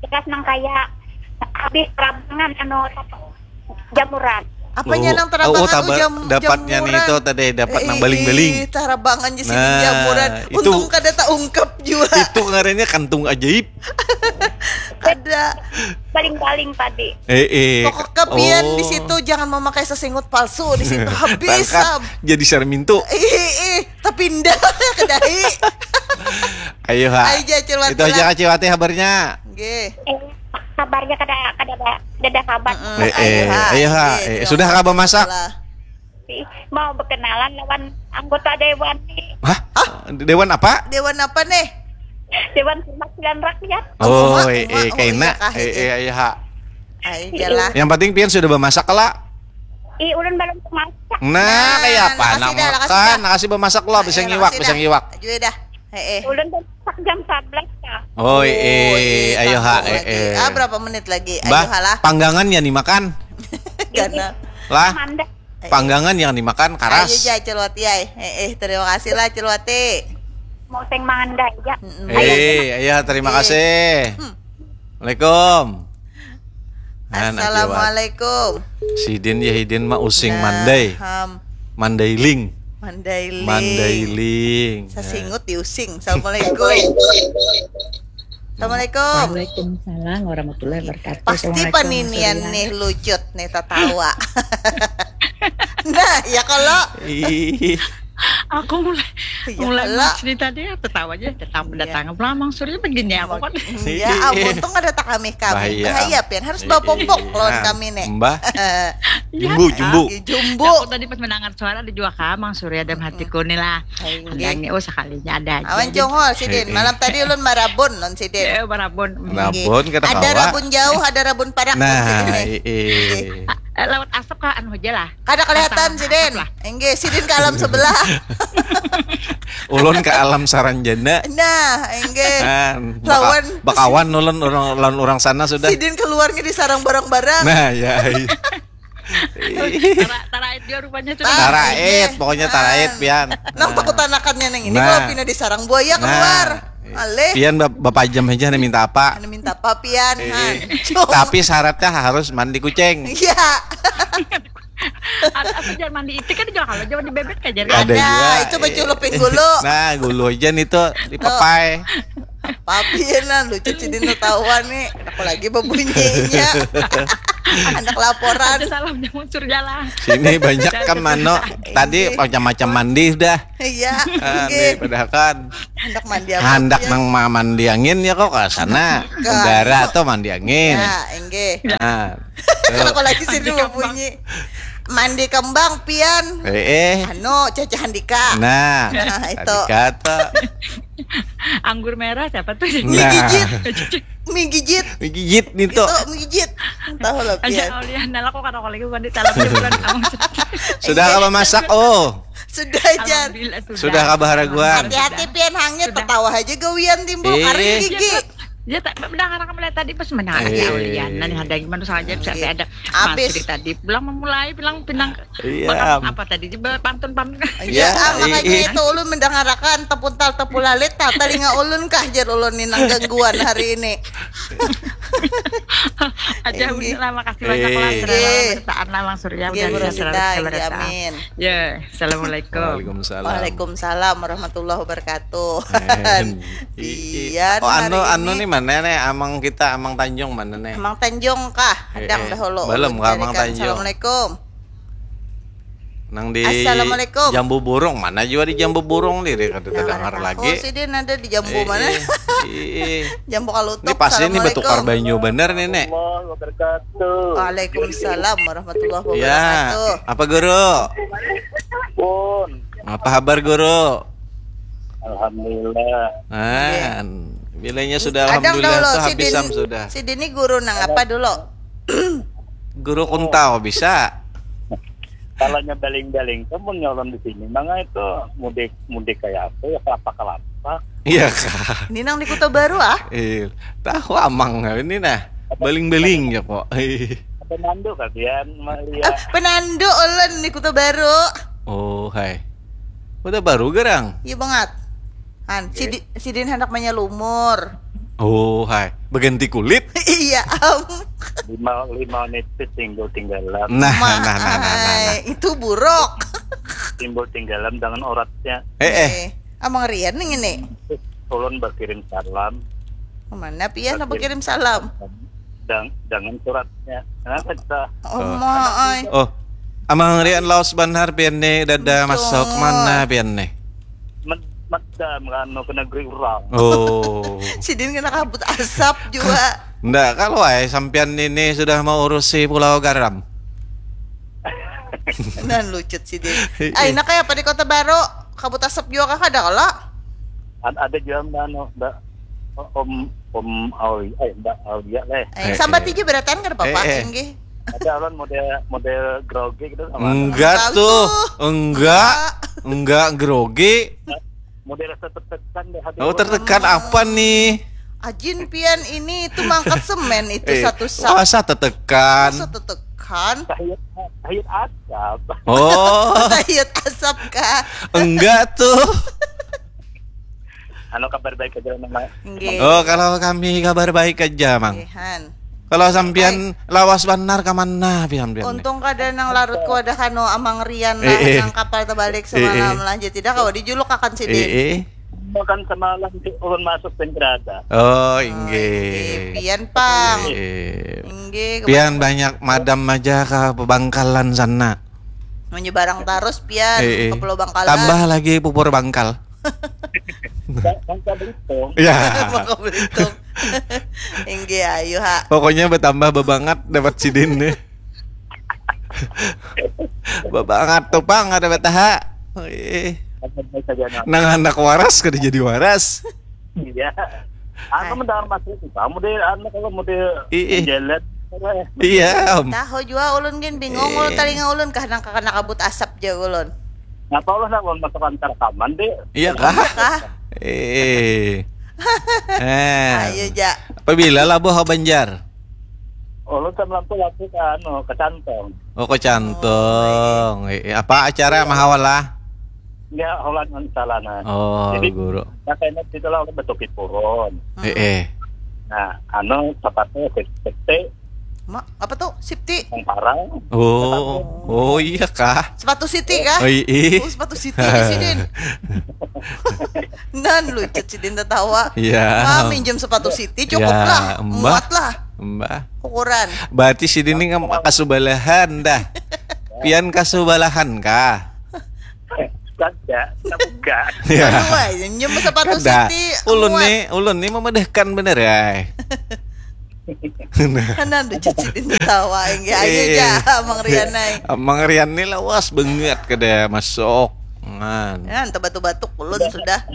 Jelas nang kayak habis terabangan anu jamuran. Apanya Oh, nang terabangan oh, taba- ujam dapatnya nih jamuran. Itu tadi dapat nang Eh, baling-baling. Ih, tarabangan di sini Nah, jamuran. itu- Untung kada taungkap juga. Itu ngarannya kantung ajaib. Ada. Baling-baling tadi. Eh, eh. Pokoknya pian Oh. Di situ jangan memakai sesingut palsu di situ habis. Tangkap Sam. Jadi sarmintu. Ih, ih, tapi indah ke dahi. Ayo ha. Ayo, Acil Wati Itu aja lah. Acil Wati kabarnya. Nggih. Eh, kabarnya kada kada ada kada ada kabar. Mm, Eh, eh, ayo ha. Nggih, Eh, terima sudah kasih kabar masak? Lah. Ih, mau berkenalan lawan anggota dewan nih. Hah? Dewan apa? Dewan apa nih? Dewan Perwakilan Rakyat. Oh, Uma, eh, uma, eh, oh, kaina. Iya, kah, Eh, iya. Eh, ayo ha. Ayo lah. Yang penting pian sudah bermasak lah. Ih, ulun belum masak. Nah, kayak apa Nah, anak kasih dah, kasih makan, dah. nah kasih bermasak lah, bisa Eh, ngiwak, kasih bisa dah. ngiwak. Ayo dah. Eh, eh. Ulun belum masak jam sebelas kah. Oh, Oh, eh, ayo ha, tahu eh, lagi. eh. Ah, berapa menit lagi? Ayo Bah, halah. Panggangan ya dimakan. Karena Lah, Manda. Panggangan yang dimakan Ayo karas. Ja Acil Wati ay. Eh, eh, terima kasih lah Acil Wati. Mau sing mangandai aja. Mm-mm. Eh, ayo terima Eh. kasih. Hmm. Assalamualaikum. Nah, nah, Assalamualaikum. Sidin ya hidin mah using Nah, mandai. Ham. Mandailing. Mandailing. Mandailing. Sasingut diusing. Assalamualaikum. Assalamualaikum. Waalaikumsalam warahmatullahi wabarakatuh. Pasti Assalamualaikum, paninian Surya. Nih lucut nih tatawa. Nah, ya kalau Ih, Aku mulai Ya, mulai kalau- Mas Rita dia tertawa aja, datang Iya. datang pulang Mang Surya begini aku kan. Ya, amun untung ada tak kami kami. Bahaya. Bahaya pian harus bawa popok lawan Nah, kami nih. Mbah. Iya. Jumbo, jumbo. Jumbo. Aku tadi pas mendengar suara ada juga kah Mang Surya dalam hatiku nih lah. Hai, nggih. Handangnya oh sekalinya ada aja. Awan Congol sidin. Eh, eh. Malam tadi ulun marabun non sidin. Ya, barabun. Rabon kata Ada kawa. Rabun jauh, ada Rabun parak non sidin Nah, nih. eh, eh. Eh, lewat asap kah anu aja lah. Kada kelihatan Asap sidin. lah. Enggih, sidin ke alam sebelah. Ulun ke alam saranjana. Nah, enggih. Nah, Lawan baka- bakawan ulun orang lawan orang sana sudah. Sidin keluarnya disarang barang-barang. Nah, ya. Iya. Tara, tara ait dia rupanya sudah. Tara ait, pokoknya tara ait pian. Nang takut anakannya nang ini kalau pina disarang buaya keluar. Aleh. Pian bapajam aja nih minta apa? Anu minta apa pian? Tapi syaratnya harus mandi kucing. Iya. Apa jangan mandi itik kan juga kalau jangan di bebek aja. Ada juga. Itu baculuk pinggulu. Nah, gulu aja nih tuh di papai. Papi nah lucu cidin tahuan nih. Aku lagi bebunyinya. Anak laporan. Ada salam jangan sur jalan. Sini banyak kan mano. Tadi macam-macam mandi dah. Iya. Nih padahal kan. Hendak mandi apa? Hendak nang mandi angin ya kok ke sana. Negara tuh mandi angin. Ya, enggak. Nah. Kalau lagi sini bebunyi. Mandi kembang pian. Eh, eh. Anu, Caca Handika. Nah, Nah, itu. Kata. Anggur merah siapa tuh? Nah. Mie gigit. Gigit nih tuh. Itu mie gigit. Tahu lah Aja pian. Aulia, nah lah kok kata lagi mandi salam dia bulan kamu. Sudah apa masak? Oh, Sudah jar. Alhamdulillah, sudah kabar raguan. Hati-hati pian hangit, tertawa aja gawian timbul Eh. karing gigi. Ya tak mendengar kamu lihat tadi pas mendengar Eh. Aulia, nah ada gimana saja bisa ada. Habis. Masih tadi pulang memulai bilang pinang Iya. Makan apa tadi? Jebel pantun pantun. Iya, Iya, makanya iya. Itu ulun mendengarakan tepuntal tepulalit, nah, telinga ulun kah jar ulun nih nang gangguan hari ini. Aja Inggih. Bunda lah, makasih banyak lah Eh. sudah Inggih. bertaan lah Mang Surya Inggih, udah Bu ada Rosita, surat inggih, bertaan. Amin. Ya, assalamualaikum. Waalaikumsalam. Waalaikumsalam warahmatullahi wabarakatuh. Eh, Pian oh, anu hari anu ini. Nih mana nih amang kita amang Tanjung mana nih? Amang Tanjung kah? Hadang Eh, eh. Dahulu. Belum Ulun kah, Amang carikan. Tanjung? Assalamualaikum. Nang di Assalamualaikum. Jambu Burung mana juga di Jambu Burung diri kada Nah, terdengar aku lagi. Sih dia ada di jambu Eh, mana? eh, eh. Jambu kalutuk. Ini pasti ini Assalamualaikum. Betukar banyu bener nih nek. Warahmatullahi wabarakatuh. Waalaikumsalam warahmatullahi Ya, wabarakatuh. Apa guru? Pun. Apa kabar guru? Alhamdulillah. Nah, bilanya sudah Kadang alhamdulillah dahulu tuh sidin, habis am sudah. Sidin ini guru nang apa dulu? Guru kuntau bisa. Kalau nyebeling-beling tuh mun nyolon di sini mangga itu mudik mudik kayak apa ya kelapa kelapa. Iya kah? Ini nang di Kota Baru ah? Eh, tahu amang ini nah. Beling-beling ya kok. Apa mandu kalian Eh, melihat penandu ulun di Kota Baru. Oh, hai. Udah baru gerang. Iya banget. Han, si, di, si Din hendak menyelumur. Oh, hai. Berganti kulit. Iya am. Lima lima menit itu timbul tinggalan. Nah, nah, nah, nah, nah, nah. Hai, itu buruk. Timbul tinggalan dengan uratnya. Eh, eh. Amang Rian nih ini. Ulun berkirim salam. Kemana pian apa kirim salam? Dang, dengan suratnya. Kenapa kita? Oh, mai. Oh, Amang Rian laos banar pian nih, dada Betul. Masuk mana pian nih? Med, medam kan ke negeri orang. Oh. Sidin kena kabut asap juga. Ndak, kalau ay sampian ini sudah mau urusi Pulau Garam. Nah lucut Sidin. Ay, nak kayak apa di Kota Baru? Kabut asap juga kah ada kala? Ad, ada juga mbak anu, mbak Om Om Aulia, eh, mbak Aulia leh. Eh, sambat aja berataan kada apa-apa, Eh, eh. Inggih. Ada orang model model grogi gitu sama. Enggak Tahu tuh, tuh. enggak, enggak grogi. Model rasa tertekan deh hati. Oh, tertekan apa nih? Ajin pian ini itu mangkat semen itu Eh, satu sak. Masa tertekan? Masa tetekan? Tahiyat tahiyat asap. Oh, Tahiyat asap kah? Enggak tuh. Anu kabar baik aja nama. Nggih. Oh, kalau kami kabar baik aja, Mang. Nggih, Han. Kalau sampian lawas banar ke mana pian pian? Untung kada nang larut ku ada kanu Amang Rian lah Eh, eh. Nang kapal terbalik semalam Eh, eh. Lah jadi tidak kawa dijuluk akan Eh, sidin. Eh. Makan semalam di ulun masuk sing berada. Oh, Oke, inggih. Pian pang. Eh, Inggih. Pian banyak madam aja ke pebangkalan sana. Menyebarang terus pian Eh, eh. ke Pulau Bangkalan. Tambah lagi pupur bangkal. Bangka Belitung. Ya. Bangka Belitung. Inggih ayu ha. Pokoknya bertambah bebangat dapat sidin nih. Bebangat tuh pang ada betaha. Eh, Apa saja nak. Nang anak waras kada jadi waras. Iya. Aku mendengar masuk itu. Kamu deh anu kalau mau deh Ih, ih. Jalan. Iya, Om. Tahu jua ulun gin bingung ulun talinga ulun kah nang kakana kabut asap ja ulun. Ngapa Allah nak masuk antar rekaman deh? Iya kah? Kah? Eh. Eh. Ayo ja. Apabila labuh ke Banjar? Ulun samalam tu lagi ke anu, ke Cantong. Oh, ke Cantong. Eh, eh, apa acara mah awal lah? Ya, Holland kan salah nah. Oh, Jadi, guru. Nah, kayaknya kita lah betul purun. Eh, eh. Nah, anu sepatu safety Ma, apa tuh? Safety. Yang parang. Oh, oh iya kah? Sepatu Siti kah? Oh, iya. Oh, sepatu Siti di sidin. Nan lucu sidin tertawa. Iya. Mah minjem sepatu Siti cukup Ya, lah. mbah. Muat lah Mbah. Ukuran. Berarti sidin ini ngam- kasubalahan dah. Pian kasubalahan kah? Kada, kita buka. Ya. Aduh, wah, minjem sepatu Kada. Siti. Ulun Muat. Nih, ulun nih memedahkan bener ya. Kanan lucu sidin tertawa. Enggak aja Eh. Jah, Mang Rian ai. Mang Rian nih lawas banget kada masuk. Ngan. Ya, entah batuk-batuk ulun sudah.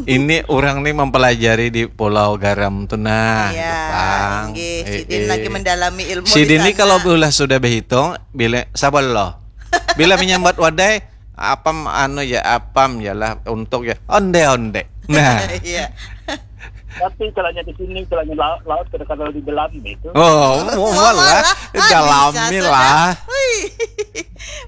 Ini orang nih mempelajari di Pulau Garam tuh nah. Iya, Jepang. Inggih, Eh, sidin eh. lagi mendalami ilmu Sidin di ini sana. Kalau ulah sudah berhitung, bila sabar loh. Bila menyambat wadai, apam anu ya, apam ya lah, untuk ya. Onde onde. Nah. Iya. Tapi celahnya di sini, celahnya laut, laut kada kalau di dalam itu. Oh, mau Malah lah. lah. Ah, Dalami bisa lah. Wih.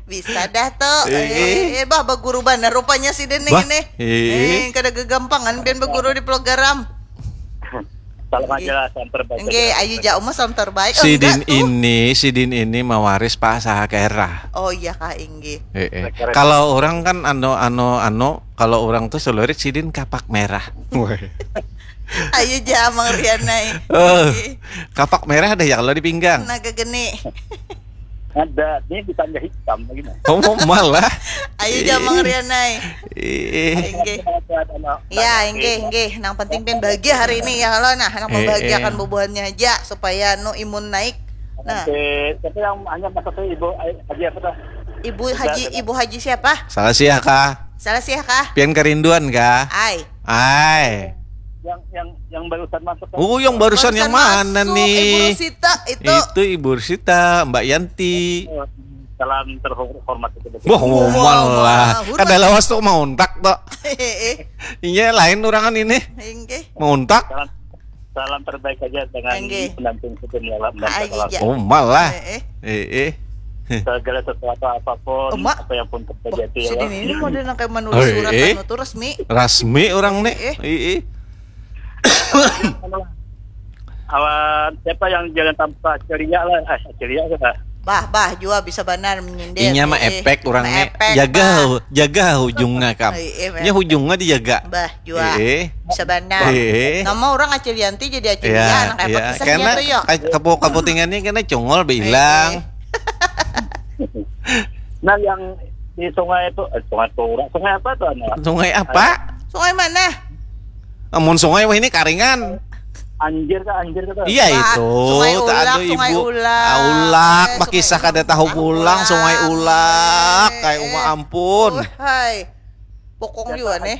Bisa dah tuh. Eh. Eh, eh, bah baguru banar rupanya sidin nih Bah, ini. eh. Eh, kada gegampangan pian baguru di Pulau Garam. Salam aja lah, salam terbaik. Enggak, ayu ja uma salam terbaik. Sidin Enggak tuh. Ini, sidin ini mawaris Pak Sahakera. Oh iya kah, inggih. Eh, eh. Kalau orang kan anu anu anu, kalau orang tuh selurit sidin kapak merah. Weh. Ayu ja Mang Rian ai. Eh, kapak merah deh ya kalau di pinggang. Naga geni. Ada, ini di tangga hitam lagi nah. Oh, mau malah. Ayu ja Mang Rian ai. Eh, Inggih. Ada, ada, ada. Ya, inggih, inggih. Nang penting pian bahagia hari ini ya kalau nah, nang Eh, membahagiakan eh. bubuhannya aja supaya nu imun naik. Nah, Oke, siapa yang hanya masuk ke ibu Haji apa tuh? Ibu Haji, Ibu Haji siapa? Salah sih ya kah? Salah sih ya kah? Pian kerinduan kah? Ai. Ai. Yang yang yang barusan masuk. Oh, yang barusan yang mana Masuk, nih? Ibu Rusita itu. Itu Ibu Rusita, Mbak Yanti. Salam terhormat itu. Wah, mau Wah, lah. wah, Kada lawas tuh mau untak tuh. Eh, eh, Iya, lain urangan ini. inggih. Mau untak. Salam, salam terbaik saja dengan Enggih. pendamping hukum dalam dan Ai, segala iya. Oh, malah. Eh, eh. Eh, eh. segala sesuatu apapun Emak. Apa yang pun terjadi ya. Sidin ini model nang kayak menulis Hei, surat eh. Anu tuh resmi. Rasmi orang nih. Eh, eh. Eh, eh. Awan siapa yang jangan tanpa ceria lah, eh ceria sudah. Bah, bah, jua bisa banar menyindir. Inya mah Eh, eh. Efek orang nih. Efek, Jaga bah. Hu- jaga hujungnya kam. Eh, eh, Nya hujungnya dijaga. Bah, jua. Eh, eh. Bisa banar. Eh, eh. Nama orang Acilianti jadi Acilia, Iya, anak apa iya. kisahnya Karena tuh yo? ka- kapu kaputingannya kena congol bilang. Nah yang di sungai itu, eh, sungai Tura, sungai apa tuh anu? Sungai apa? Sungai mana? Amun sungai wah ini karingan. Anjir kah, anjir kah tuh? Iya Wah, itu, Sungai tak Ulak, ada Sungai ibu. Ulak. Ah, Ulak, Eh, makisah Sungai kada tahu Ulak. pulang, Sungai Ulak, Eh, kayak eh. Uma ampun. Wah, hai. Bokong juga nih.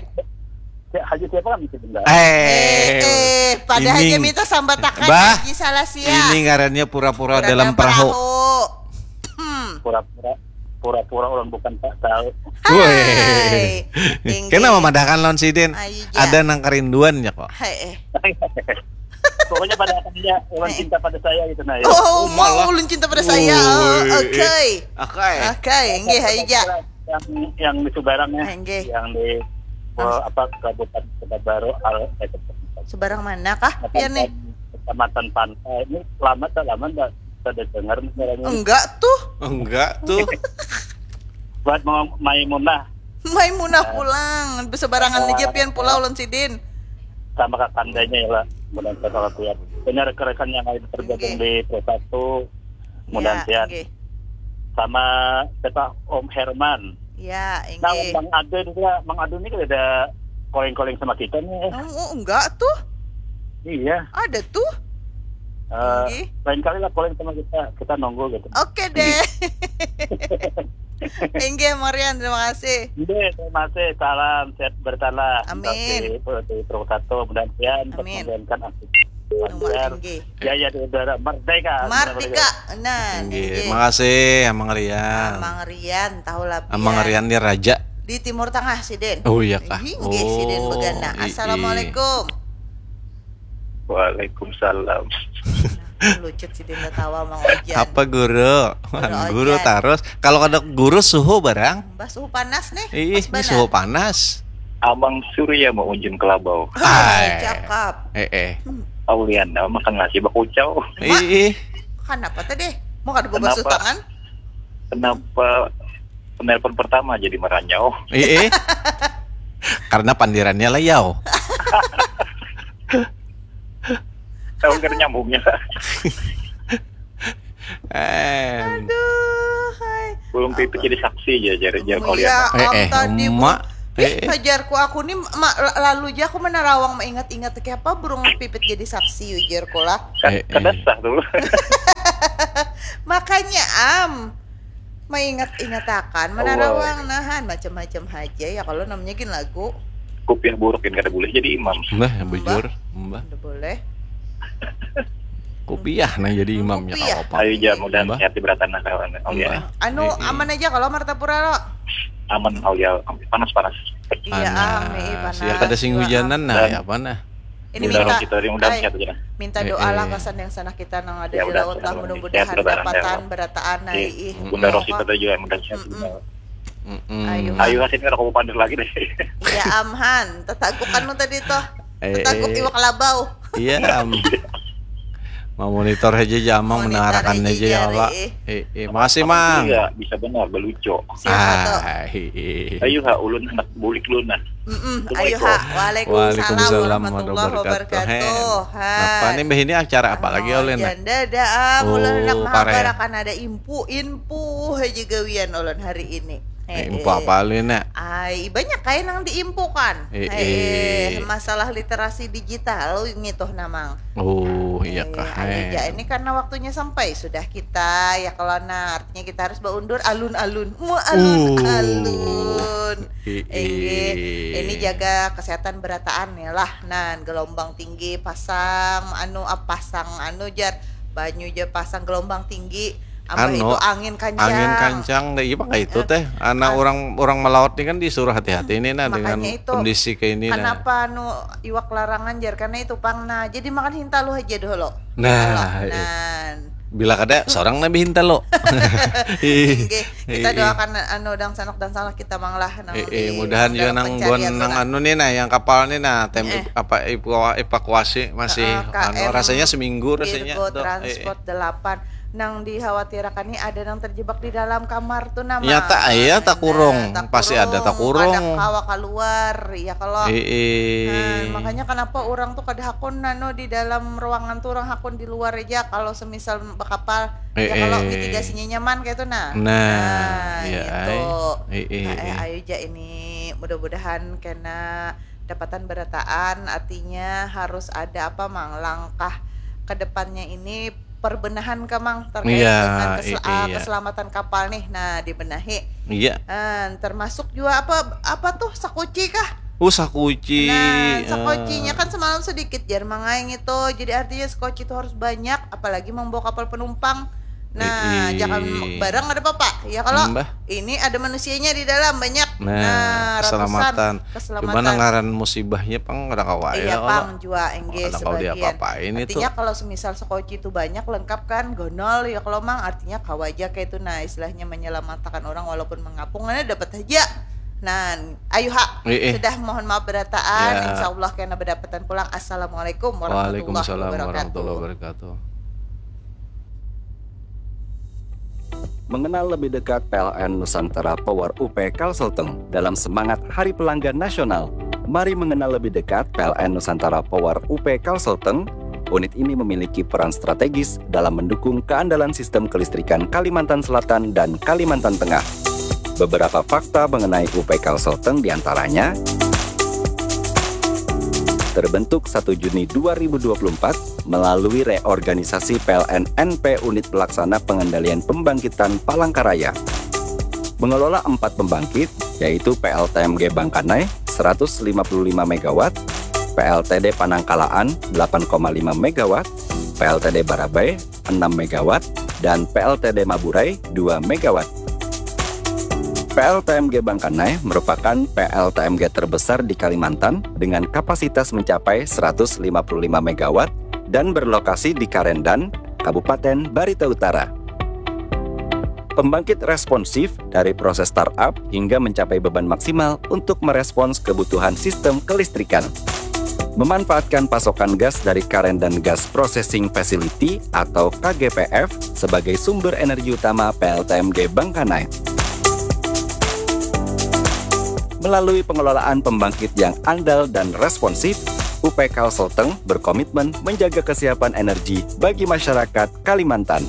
Ya, Haji siapa kan bisa dengar? Eh, Eh, eh, padahal ini- dia minta sambatakan Bah, Haji salah sia. Ini ngarannya pura-pura Pura dalam dalam perahu. Hmm. Pura-pura pura-pura orang bukan tak tahu. Weh. Hai. Inggih. Kena memadahkan lawan sidin. Ayu ja. Ada nang kerinduannya kok. Hai, eh. Pokoknya pada akhirnya orang Eh. cinta pada saya gitu nah ya. Oh, Malah. mau ulun cinta pada saya. Woi. Oke. Oke. Oke, inggih ayu ja. Yang yang di Subarang ya. Enggih. Yang di eh, apa Kabupaten Pekanbaru al eh, Sebarang mana kah pian nih? Kecamatan Pantai. Ini lama tak lama enggak ada dengar nih suaranya. Enggak tuh. Enggak tuh. Buat mau Maimunah Maimunah pulang. Besebarangan aja pian pulau ulun sidin. Sama kakandanya ya lah. Mudah-mudahan kalau lihat. Punya rekan-rekan yang lain tergabung Oke. Di Pro Satu. Ya, Mudah-mudahan oke. Sama siapa Om Herman. Ya, Nah, inggih. Bang Ade juga, Bang Ade ini kan ada calling-calling sama kita nih. Oh, oh, enggak tuh. Iya. Ada tuh. Eh, Inggih. Lain kali lah calling sama kita, kita nunggu gitu. Oke deh. Inggih, Marian, terima kasih. Oke, terima kasih. Salam sehat bertahan. Amin. Di, di Pro Satu, mudah-mudahan Amin. Menjalankan aktivitas Nomor lancar. Inggih. Jaya di udara, merdeka. Mardika, nah, Inggih. inggih. Makasih, Amang Rian. Amang Rian, tahu lah Amang pian. Rian dia raja. Di Timur Tengah sidin. Oh iya kah? Inggih, sidin Oh, begana. i- i. Assalamualaikum. Waalaikumsalam. Lucut si Dinda tawa Mang Ojan. Apa guru? Guru Guru Ojan. Terus. Kalau kada guru suhu barang. Bah, suhu panas nih. Ih, Pas ini banar. Suhu panas. Abang Surya mau unjun kelabau. Hai, Ai. Cakap. Eh eh. Auliana makan nasi bakucau. Ih, ih. Kenapa tadi? Mau kada basuh Kenapa? Tangan? Kenapa penelpon pertama jadi meranyau? Ih, ih. Karena pandirannya layau. Tahu kan nyambungnya. Eh. Aduh, hai. Belum pipit jadi saksi aja, jari jari Iya, Auliana. Eh, am eh, tadi emak. Ih, Eh, eh. Ajarku aku nih ma- lalu aja aku menerawang, mengingat-ingat kayak apa burung pipit jadi saksi, ujarku lah. Kan Eh, eh. Kada sah tuh. Makanya am mengingat-ingatakan, menerawang nahan macam-macam aja ya kalau namanya gin lagu. Kupiah buruk ini kada boleh jadi imam. Mbah, bujur, mbah. Udah boleh. Kupiah nang jadi imamnya Kupiah. Apa? Ayo aja mudahan Mbah. Sehat di beratan nah kawan. Auliana. Mbah. Anu Eh, eh. Aman aja kalau Martapura lo. Aman Auliana, panas panas. Iya, am, eh, Panas. panas. Ya kada sing Juga, hujanan am. nah, Dan- ya apa nah? Ini Bunda minta, Rosita yang mudah ai, sehat aja lah. Minta Eh, doalah eh. Pasan yang sanak kita nang ada Ya, di udah, laut lah, sehat, mudah-mudahan sehat, mudah-mudahan, dapatan sehat. berataan Iya. ai, ih. Bunda Rosita tuh juga mudah sehat. Mm-mm. Mm-mm. Ayo. Ayo hasilnya aku pandir lagi deh. Iya, am, han. Tetaguk anu tadi toh. Eh, Tetaguk eh. Iwak Labau. Iya, am. Mau monitor aja aja, Amang Monitor mendengarkan aja aja aja, Allah. eh. Eh, eh, makasih, Mang. Iya, bisa benar belucu. Siapa tuh? Ah, eh, eh. Ayo ha ulun hendak bulik dulu nah. Mm-mm. Assalamualaikum. Ayo ha. Waalaikumsalam Waalaikumsalam warahmatullahi warahmatullahi wabarakatuh. wabarakatuh. Han. Napa nih, Mbah, ini acara apa lagi, Oh, Olin? Janda dah, ah, ulun Oh, hendak pare. Mengabarakan ada impu, impu aja gawian ulun hari ini. Eh, Eh, info eh. apa, Olin, nak? Ai, banyak kayak nang diimpukan. Eh, Eh, eh, eh. masalah literasi digital gitu nah, Mang. Oh, iya Eh, kah? ayo Eh. ja, ini karena waktunya sampai sudah kita ya kalau nah artinya kita harus baundur alun-alun. Mu Uh. alun-alun. Eh, Inggih, eh. ini jaga kesehatan berataan ya lah. Nah, gelombang tinggi pasang anu apa pasang anu jar banyu jar pasang gelombang tinggi. Ambah Anu, itu angin kancang. Angin kancang, dah iya pakai itu Eh, teh. Anak ah. Orang orang melaut ini kan disuruh hati-hati nih nah dengan Makanya itu, kondisi kayak ini nah. Kenapa anu iwak larangan jar karena itu pang nah. Jadi makan hintalu aja dulu. Nah, Kalau, eh. nan. Bila kada seorang nabi hintalu. Ih, Inggih, kita ih, ih. Doakan anu dangsanak-dangsanak kita mang lah nang Eh, di eh, mudahan juga dalam nang pencarian buan nang tu, nah. Anu nih nah, yang kapal nih nah, tem Eh. Apa evaku- evakuasi masih Heeh, anu K M rasanya seminggu rasanya. Virgo Tuh, eh, eh. Transport delapan nang dikhawatirkan nih ada nang terjebak di dalam kamar tuh nama. Nyata, iya, Nah, takurung. Pasti ada takurung. Kada kawa keluar ya kalau. Eh, eh. Nah, makanya kenapa orang tuh kada hakun nano di dalam ruangan tuh orang hakun di luar aja kalau semisal bakapal ya Eh, kalau eh. mitigasinya nyaman kayak itu nah. Nah, iya, Gitu. ai. Eh, eh, Nah, eh, eh. Ayo ja ini mudah-mudahan kena dapatan berataan artinya harus ada apa mang langkah ke depannya ini perbenahan ke mang terkait Iya, dengan kesel- i- ah, iya. Keselamatan kapal nih nah dibenahi. Iya. Ah, termasuk juga apa apa tuh sakuci kah? Uh, sakuci. Nah, Eh. sakucinya kan semalam sedikit jar mangaing itu. Jadi artinya sakuci itu harus banyak apalagi membawa kapal penumpang. Nah, Ii. Jangan barang ada apa-apa. Ya kalau Mbah. Ini ada manusianya di dalam banyak. Nah, ratusan. Keselamatan. Keselamatan. Cuma nang ngaran musibahnya pang kada kawa Iya ya, pang kalau jua engge kada kawa sebagian. Diapa-apain itu. Artinya kalau semisal sakoci itu banyak lengkap kan gonol ya kalau mang artinya kawa aja kayak itu nah istilahnya menyelamatkan orang walaupun mengapung ada dapat aja. Nah, ayo ha Eh, eh. Sudah mohon maaf berataan. Ya. Insya Allah kena berdapatan pulang. Assalamualaikum warahmatullahi Waalaikumsalam wabarakatuh. Warahmatullahi Wabarakatuh. Mengenal lebih dekat P L N Nusantara Power U P Kalselteng dalam semangat Hari Pelanggan Nasional. Mari mengenal lebih dekat P L N Nusantara Power U P Kalselteng. Unit ini memiliki peran strategis dalam mendukung keandalan sistem kelistrikan Kalimantan Selatan dan Kalimantan Tengah. Beberapa fakta mengenai U P Kalselteng diantaranya terbentuk satu Juni dua ribu dua puluh empat melalui reorganisasi P L N N P Unit Pelaksana Pengendalian Pembangkitan Palangkaraya. Mengelola empat pembangkit, yaitu P L T M G Bangkanai seratus lima puluh lima megawatt, P L T D Panangkalaan delapan koma lima megawatt, P L T D Barabai enam megawatt, dan P L T D Maburai dua megawatt. P L T M G Bangkanai merupakan P L T M G terbesar di Kalimantan dengan kapasitas mencapai seratus lima puluh lima megawatt dan berlokasi di Karendan, Kabupaten Barito Utara. Pembangkit responsif dari proses startup hingga mencapai beban maksimal untuk merespons kebutuhan sistem kelistrikan. Memanfaatkan pasokan gas dari Karendan Gas Processing Facility atau K G P F sebagai sumber energi utama P L T M G Bangkanai. Melalui pengelolaan pembangkit yang andal dan responsif, U P K Sulteng berkomitmen menjaga kesiapan energi bagi masyarakat Kalimantan.